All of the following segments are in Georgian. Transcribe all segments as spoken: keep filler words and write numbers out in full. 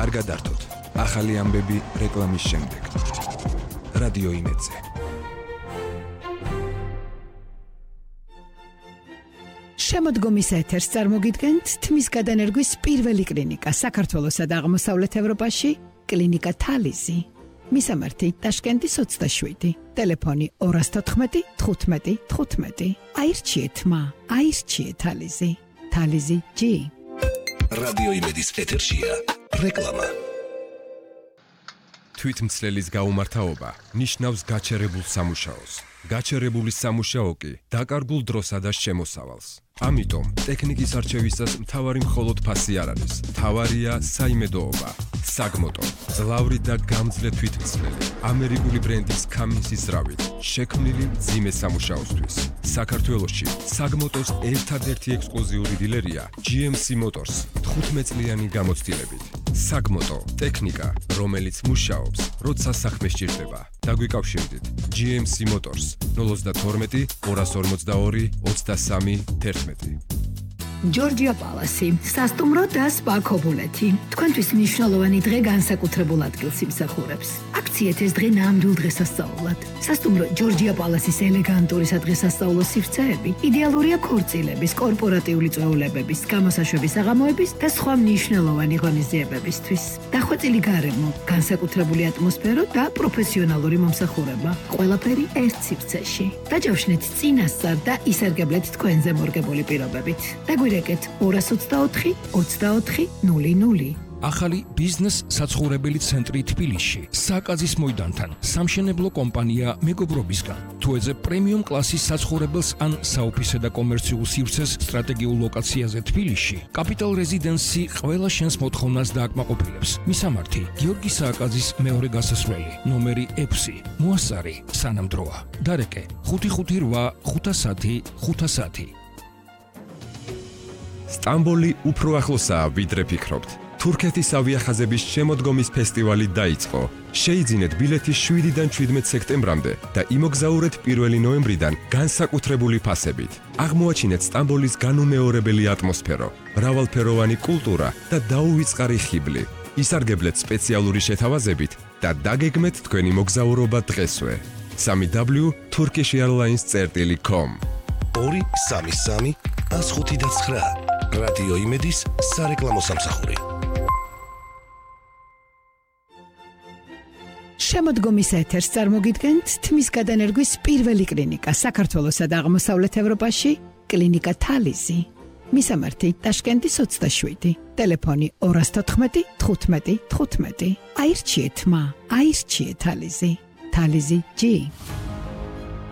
არ გადართოთ. ახალი ამბები რეკლამის შემდეგ. რადიო იმედზე. შემოდგომის ეთერს წარმოგიდგენთ თმის გადანერგვის პირველი კლინიკა საქართველოსა და აღმოსავლეთ ევროპაში, კლინიკა თალიზი. მისამართი ტაშკენტის ოცდაშვიდი, ტელეფონი ორას თოთხმეტი თხუთმეტი თხუთმეტი. აირჩიეთ მა, აირჩიეთ თალიზი. თალიზი ჯი. რადიო იმედის ეთერშია რეკლამა. თვითმცლელის გაუმართავობა ნიშნავს გაჩერებულ სამუშაოს. გაჩერებული სამუშაო კი დაკარგულ დროსა და შემოსავალს. ამიტომ ტექნიკის არჩევისას მთავარი მხოლოდ ფასი არ არის. მთავარია საიმედოობა. საგმოტო, ძლავრი და გამძლე თვითმცლელი, ამერიკული ბრენდის Cummins-ის ზრავით, შექმნილი მძიმე სამუშაოსთვის. საქართველოში საგმოტოს ერთადერთი ექსკლუზიური დილერია ჯი ემ სი Motors თხუთმეტ წლიანი გამოცდილებით. საგმოტო, ტექნიკა, რომელიც მუშაობს, როცა საქმე სჭირდება. დაგვიკავშირდით ჯი ემ სი Motors ნული თორმეტი ორას ორმოცდაორი ოცდასამი თერთმეტი. ჯორჯია პალასი, სასტუმრო და სპა ქობულეთი. თქვენთვის მნიშვნელოვანი დღე განსაკუთრებულ ადგილს იმსახურებს. აქციეთ ეს დღე ნამდვილ დღესასწაულად. სასტუმრო ჯორჯია პალასის ელეგანტური სადღესასწაულო სივრცეები იდეალურია ქორწილების, კორპორატიული წვეულებების, გამოსაშვების საღამოების და სხვა მნიშვნელოვანი ღონისძიებებისთვის. დახვეწილი გარემო, განსაკუთრებული ატმოსფერო და პროფესიონალური მომსახურება. ყველაფერი ერთ სივრცეში. დაჯავშნეთ წინასწარ და ისარგებლეთ თქვენზე მორგებული პირობებით. დაგვირეკეთ ორას ოცდაოთხი ოცდაოთხი ნული ნული. ახალი ბიზნეს საცხოვრებელი ცენტრი თბილისში, საკაზის მოედანთან, სამშენებლო კომპანია მეგობრობისგან. თუ ეძებ პრემიუმ კლასის საცხოვრებელს ან საოფისე და კომერციულ სივრცეს სტრატეგიულ ლოკაციაზე თბილისში, კაპიტალ რეზიდენსი ყველა შენს მოთხოვნას დააკმაყოფილებს. მისამართი, გიორგი სააკაძის მეორე გასასვლელი, ნომერი ექვსი, მოასწარი, სანამდროა. დარეკე, ხუთი ხუთი რვა ხუთასათი ხუთასათი. სტამბოლი უფრო ახლოსაა, ვიდრე ფიქრობთ. თურქეთის ავიახაზების შემოდგომის ფესტივალი დაიწყო. შეიძინეთ ბილეთი შვიდიდან ჩვიდმეტ სექტემბრამდე და იმოგზაურეთ პირველი ნოემბრიდან განსაკუთრებული ფასებით. აღმოაჩინეთ სტამბოლის განუმეორებელი ატმოსფერო, მრავალფეროვანი კულტურა და დაუვიწყარი ხიბლი. ისარგებლეთ სპეციალური შეთავაზებით და დაგეგმეთ თქვენი მოგზაურობა დღესვე. სამი დაბლიუ turkish airlines წერტილი com. ორი სამი სამი ას ხუთი და ცხრა. რადიო იმედის სარეკლამო სამსახური. შემოდგომის ეთერს წარმოგიდგენთ თმის გადანერგვის პირველი კლინიკა საქართველოსა და აღმოსავლეთ ევროპაში, კლინიკა თალიზი. მისამართი ტაშკენტის ოცდაშვიდი, ტელეფონი ორას თოთხმეტი თხუთმეტი თხუთმეტი. აირჩიეთ მა, აირჩიეთ თალიზი. თალიზი ჯი.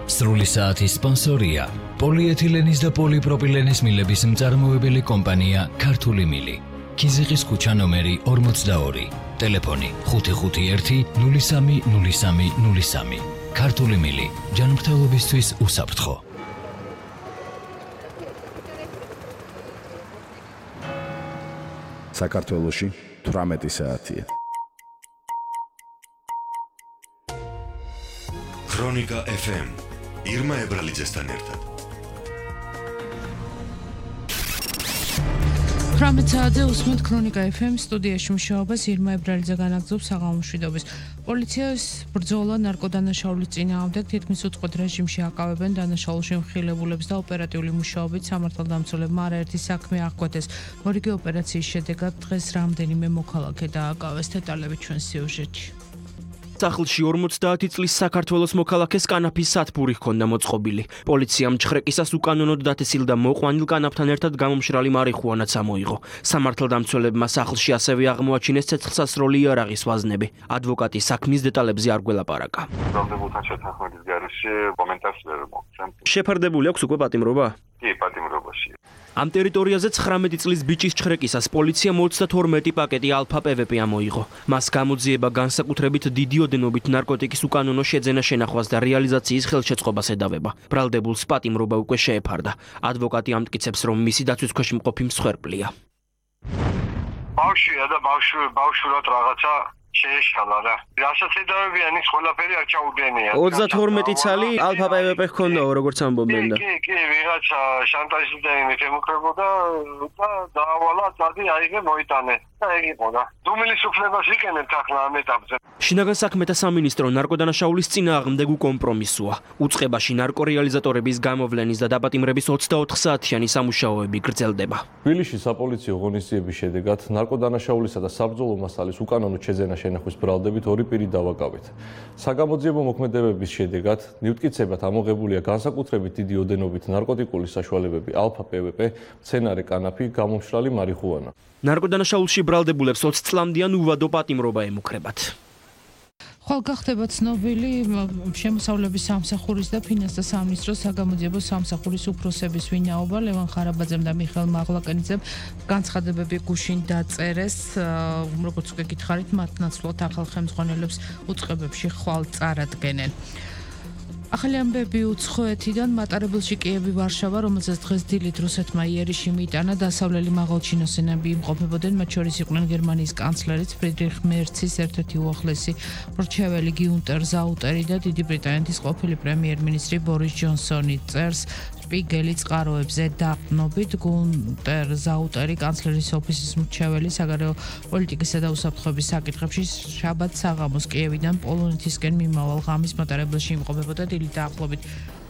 სრული საათის სპონსორია პოლიეთილენის და პოლიპროპილენის მილების მწარმოებელი კომპანია ქართული მილი. ქიზიყის ქუჩა ნომერი ორმოცდაორი, ტელეფონი ხუთი ხუთი ერთი ნული სამი ნული სამი ნული სამი. ქართული მილი, ჯანმრთელობისთვის უსაფრთხო. საქართველოში თვრამეტი საათია. ქრონიკა ეფ ემ ირმა ებრალიძესთან ერთად. თვრამეტ საათზე უსმენთ ქრონიკა ეფ ემ სტუდიაში მუშაობას ირმა ებრალიძე განაგრძობს საღამო მშვიდობის. პოლიციას ბრძოლა ნარკოდანაშაულის წინააღმდეგ თითქმის უწყვეტ რეჟიმში აკავებენ დანაშაულში მხილებულებს და ოპერატიული მუშაობით სამართალდამცველებმა არაერთი საქმე აღკვეთეს. მორიგი ოპერაციის შედეგად დღეს რამდენიმე მოქალაქე დააკავეს. დეტალები ჩვენ სიუჟეტში. სახლში ორმოცდაათი წლის საქართველოს მოქალაქეს კანაფის სათბური ჰქონდა მოწყობილი. პოლიციამ ჩხრეკისას უკანონოდ დათესილ და მოყვანილ კანაფთან ერთად გამომშრალი მარიხუანაც ამოიღო. სამართალდამცველებმა სახლში ასევე აღმოაჩინეს ცეცხლსასროლი იარაღის ვაზნები. ადვოკატი საქმის დეტალებზე არ გველაპარაკა. ბრალდებულთან შეთანხმების გარეშე კომენტარს ვერ მოგცემ. შეფარდებული აქვს უკვე პატიმრობა? კი, პატიმრობაში. ამ ტერიტორიაზე ცხრამეტი წლის ბიჭის ჩხრეკისას პოლიციამ ოცდათორმეტი პაკეტი ალფა პე ვე პე ამოიღო. მას გამოძიება განსაკუთრებით დიდი ოდენობით ნარკოტიკის უკანონო შეძენა შენახვას და რეალიზაციის ხელშეწყობას ედავება. ბრალდებულს პატიმრობა უკვე შეეფარდა. ადვოკატი ამტკიცებს, რომ მისი დაცვის ქვეშ მყოფი მსხვერპლია. ბავშვია და ბავშვი ბავშვურად რაღაცა შეეშალა რა. რასაც ედავებიან ის ყველაფერი არ ჩაუდენია. ოცდათორმეტი ცალი ალფა პე ვე პე ჰქონდაო, როგორც ამბობენ და. კი, კი, ვიღაცა შანტაჟით და იმით ემუქრებოდა და დაავალა წადი აიღე მოიტანე. და ეგ იყო და დუმილის უფლებას იყენებთ ახლა ამ ეტაპზე. შინაგან საქმეთა სამინისტრო ნარკოდანაშაულის წინააღმდეგ უკომპრომისოა. უწყებაში ნარკორეალიზატორების გამოვლენის და დაპატიმრების ოცდაოთხ საათიანი სამუშაოები გრძელდება. თბილისში საპოლიციო ღონისძიების შედეგად ნარკოდანაშაულისა და საბრძოლო მასალის უკანონო შეძენა შენახვის ბრალდებით ორი პირი დავაკავეთ. საგამოძიებო მოქმედებების შედეგად ნივთკიცებად ამოღებულია განსაკუთრებით დიდი ოდენობით ნარკოტიკული საშუალებები ალფა პე ვე პე, მცენარე კანაფი, გამომშრალი მარიხუანა. ნარკოდანაშაულში ბრალდებულებს ოცი წლამდიან უვადო პატიმრობა ემუქრებათ. ხვალ გახდება ცნობილი შემოსავლების სამსახურის და ფინანსთა სამინისტროს საგამოძიებო სამსახურის უფროსების ვინაობა. ლევან ხარაბაძემ და მიხეილ მაღლაკანიძემ განცხადებები გუშინ დაწერეს, როგორც უკვე გითხარით, მათ ნაცვლად ახალ ხელმძღვანელებს უწყებებში ხვალ წარადგენენ. ახალი ამბები უცხოეთიდან მატარებელში კიევი ვარშავა, რომელზეც დღეს დილით რუსეთმა იერიში მიიტანა, დასავლელი მაღალჩინოსენები იმყოფებოდნენ, მათ შორის იყვნენ გერმანიის კანცლერიც ფრიდრიხ მერცის ერთ-ერთი უახლესი მრჩეველი გიუნტერ ზაუტერი და დიდი ბრიტანეთის ყოფილი პრემიერ-მინისტრი ბორის ჯონსონი. წერს სპიგელი წყაროებზე დაყრდნობით გიუნტერ ზაუტერი კანცლერის ოფისის მრჩეველი საგარეო პოლიტიკისა და უსაფრთხოების საკითხებში შაბათ საღამოს კიევიდან პოლონეთისკენ მიმავალ ღამის მატარებელში იმყოფებოდა. დაახლოებით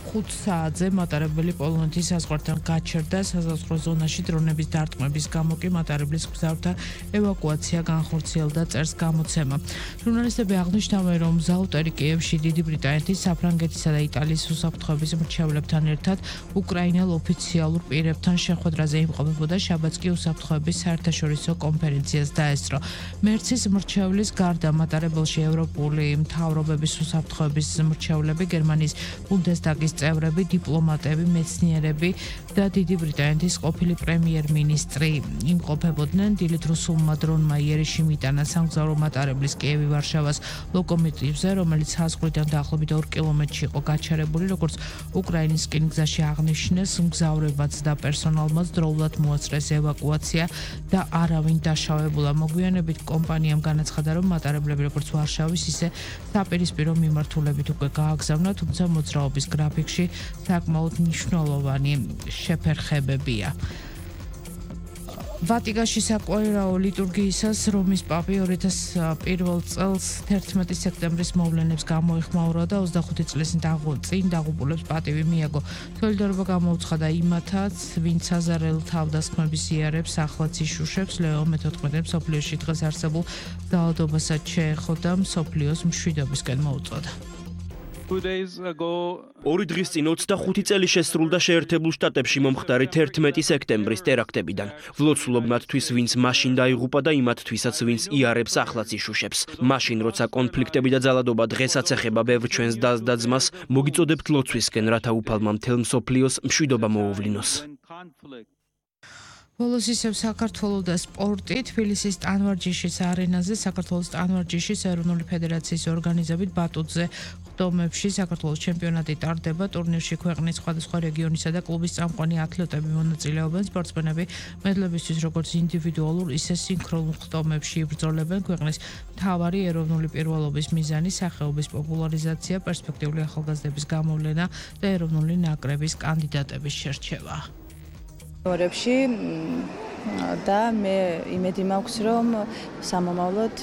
ხუთ საათზე მატარებელი პოლონეთის საზღვართან გაჩერდა. საზღვაო ზონაში დრონების დარტყმების გამო კი მატარებლის მგზავრთა ევაკუაცია განხორციელდა, წერს გამოცემა. ჟურნალისტები აღნიშნავენ, რომ ზაუტერი კიევში დიდი ბრიტანეთის, საფრანგეთისა და იტალიის უსაფრთხოების მრჩევლებთან ერთად უკრაინელ ოფიციალურ პირებთან შეხვედრაზე იმყოფებოდა. შაბათს კი უსაფრთხოების საერთაშორისო კონფერენციას დაესწრო. მერცის მრჩევლის გარდა მატარებელში ევროპული მთავრობების უსაფრთხოების მრჩევლები, გერმანიის ბუნდესტაგის წევრები, დიპლომატები, მეცნიერები და დიდი ბრიტანეთის ყოფილი პრემიერ-მინისტრი იმყოფებოდნენ. დილით რუსულმა დრონმა იერიში მიიტანა სამგზავრო მატარებლის კიევი ვარშავას ლოკომოტივზე, რომელიც საზღვრიდან დაახლოებით ორ კილომეტრში იყო გაჩერებული, როგორც უკრაინისკენ გზაში აღნიშნეს, მგზავრებაც და პერსონალმაც დროულად მოაწრეს ევაკუაცია და არავინ დაშავებულა. მოგვიანებით კომპანიამ განაცხადა, რომ მატარებლები როგორც ვარშავის, ისე საპირისპირო მიმართულებით უკვე გააგზავნა, თუმცა მოძრაობის გრაფიკში საკმაოდ მნიშვნელოვანი შეფერხებებია. ვატიკანში საკვირაო ლიტურგიისას რომის პაპი ორი ათას პირველ წელს თერთმეტი სექტემბრის მოვლენებს გამოიხმაურა და ოცდახუთი წლის წინ დაღუპულებს პატივი მიაგო. სოლიდარობა გამოუცხადა იმათაც, ვინც აზარელ თავდასხმების იარებს ახლაც იშუშებს. ლეო მეთოთხმეტე მსოფლიოში დღეს არსებულ ძალადობასაც შეეხოდა, მსოფლიოს მშვიდობისკენ მოუწოდა. ორი დღის წინ ოცდახუთი წელი შესრულდა შეერთებულ შტატებში მომხდარი თერთმეტი სექტემბრის ტერაქტებიდან. ვლოცულობ მათთვის, ვინც მაშინ დაიღუპა და იმათთვისაც, ვინც იარებს ახლაც იშუშებს. მაშინ, როცა კონფლიქტები და ძალადობა დღესაც ეხება ბევრ ჩვენს დას და ძმას, მოგიწოდებთ ლოცვისკენ, რათა უფალმა მთელ მსოფლიოს მშვიდობა მოუვლინოს. ბოლოს ისევ საქართველოს და სპორტი. თბილისის ტანვარჯიშის არენაზე საქართველოს ტანვარჯიშის ეროვნული ფედერაციის ორგანიზებით ბატუტზე ხდომებში საქართველოს ჩემპიონატი ტარდება. ტურნირში ქვეყნის სხვადასხვა რეგიონისა და კლუბის წამყვანი ათლეტები მონაწილეობენ. სპორტსმენები მედლებისთვის როგორც ინდივიდუალურ, ისე სინქრონულ ხდომებში იბრძოლებენ. ქვეყნის მთავარი ეროვნული პირველობის მიზანი სახეობის პოპულარიზაცია, პერსპექტიული ახალგაზრდების გამოვლენა და ეროვნული ნაკრების კანდიდატების შერჩევა. ორებში და მე იმედი მაქვს, რომ სამომავლოდ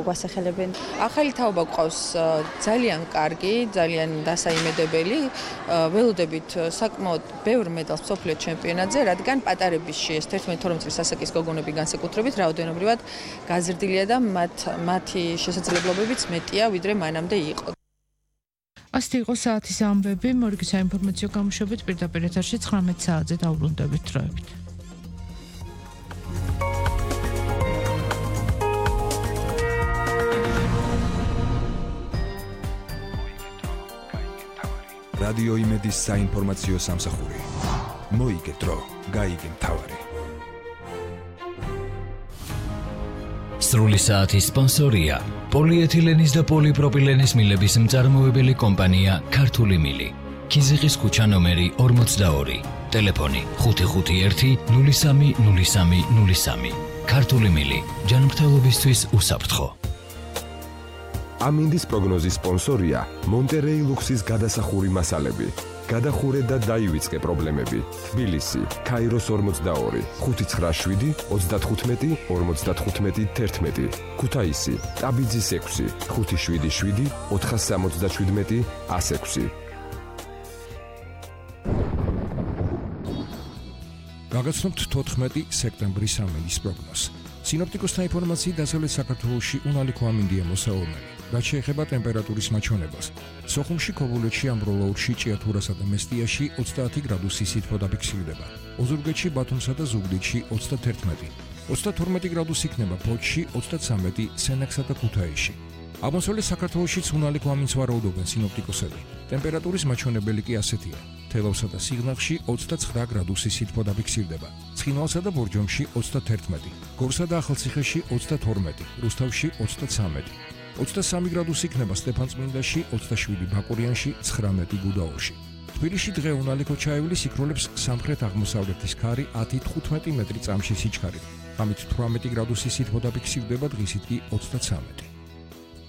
გვასახელებენ. ახალი თაობა გვყავს ძალიან კარგი, ძალიან დასაიმედებელი. ველოდებით საკმაოდ ბევრ მედალს მსოფლიო ჩემპიონატზე, რადგან პატარებისში ეს თერთმეტი ორმოცი წლის ასაკის გოგონები განსაკუთრებით რაოდენობრივად გაზრდილია და მათ მათი შესაძლებლობებიც მეტია, ვიდრე მანამდე იყო. ასეთი იყო საათის ამბები. მორიგი საინფორმაციო გამოშვებით პირდაპირ ეთერში ცხრამეტ საათზე დავბრუნდებით დროებით. რადიო იმედის საინფორმაციო სამსახური. მოიგე დრო, გაიგე მთავარი. სრული საათის სპონსორია პოლიეთილენის და პოლიპროპილენის მილების მწარმოებელი კომპანია ქართული მილი. ქიზიყის ქუჩა ნომერი ორმოცდაორი. ტელეფონი ხუთი ხუთი ერთი ნული სამი ნული სამი ნული სამი. ქართული მილი. ჯანმრთელობისთვის უსაფრთხო. ამინდის პროგნოზის სპონსორია მონტერეი ლუქსის გადასახური მასალები. გადახურე და დაივიწყე პრობლემები. თბილისი, ქაიროს ორმოცდაორი, ხუთი ცხრა შვიდი, ოცდათხუთმეტი, ორმოცდათხუთმეტი, თერთმეტი. ქუთაისი, ტაბიძის ექვსი, ხუთი შვიდი შვიდი, ოთხას სამოცდაშვიდმეტი, ას ექვსი. გაგაცნობთ თოთხმეტი სექტემბრის ამინდის პროგნოზს. სინოპტიკოსთა ინფორმაციით დასავლეთ საქართველოში უნალიქო ამინდია მოსაურნელი. რაც შეეხება ტემპერატურის მაჩვენებას. სოხუმში, ქობულეთში, ამბროლაურში, ჭიათურასა და მესტიაში ოცდაათი გრადუსი სითბო დაფიქსირდება. ოზურგეთში, ბათუმსა და ზუგდიდში ოცდათერთმეტი. ოცდათორმეტი გრადუსი იქნება ფოთში, ოცდაცამეტი სენაკსა და ქუთაისში. აღმოსავლეთ საქართველოშიც უნალიქო ამინდს ვარაუდობენ სინოპტიკოსები. ტემპერატურის მაჩვენებელი კი ასეთია. თელავსა და სიღნაღში ოცდაცხრა გრადუსი სითბო დაფიქსირდება. ცხინვალსა და ბორჯომში ოცდათერთმეტი. გორსა და ახალციხეში ოცდათორმეტი. რუსთავში ოცდაცამეტი. ოცდასამი გრადუსი იქნება სტეფანწმინდაში, ოცდაშვიდი ბაკურიანში, ცხრამეტი გუდაურში. თბილისში დღე უნალიქო ჩაივლის იქროლებს სამხრეთ-აღმოსავლეთის ქარი ათი თხუთმეტი მეტრი წამში სიჩქარით. ღამით თვრამეტი გრადუსი სითბო დაფიქსირდება, დღისით კი ოცდაცამეტი.